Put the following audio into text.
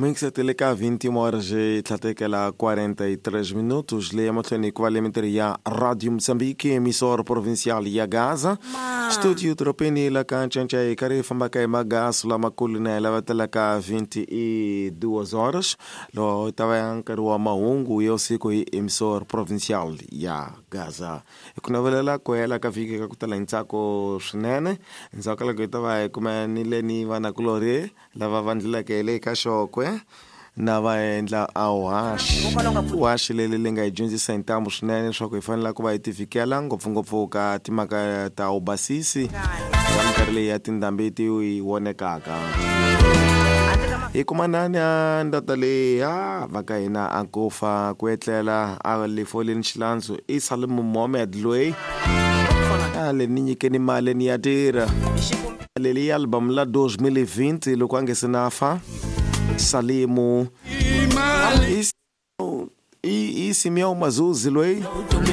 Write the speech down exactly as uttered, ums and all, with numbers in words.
Mingisetele ka vinte e uma horas e tlhatekela quarenta e três minutos, leyi emahlweni ku va le mintirho ya Radio Moçambique, emissora provincial ya Gaza, studio doropeni la ka Ncancai, hi karhi hi fambaka hi magaso lamakulu na hi lavatela ka vinte e duas horas, lowu ta va ya nkarhi wa mahungu ya usiku hi emissora provincial ya Gaza. Hi ku navelela ku hela ka vhiki ka ku tala hi ntsako swinene. Endzhaku ka loko hi ta va hi kumanile ni vanakulorhi lava va ndluleke hi le ka xokwe na va endla a uhaxi uhaxi leri li nga hi dyondzisa hi ntambu swinene leswaku hi fanele ku va hi tivikela, ngopfungopfu ka timhaka ta ubasisi ka minkarhi leyi ya tindhambi ti yi vonekaka. Hi kumanani a ndata leyi a va ka hina a kufa ku etlela a le foleni xilandzu i Salimu Mohammed loyi a le ni nyikeni mali ni ya tirha leli album la dois mil e vinte loko a nge se na fa Salimu i, i, i Simeão Mazuzi loyi.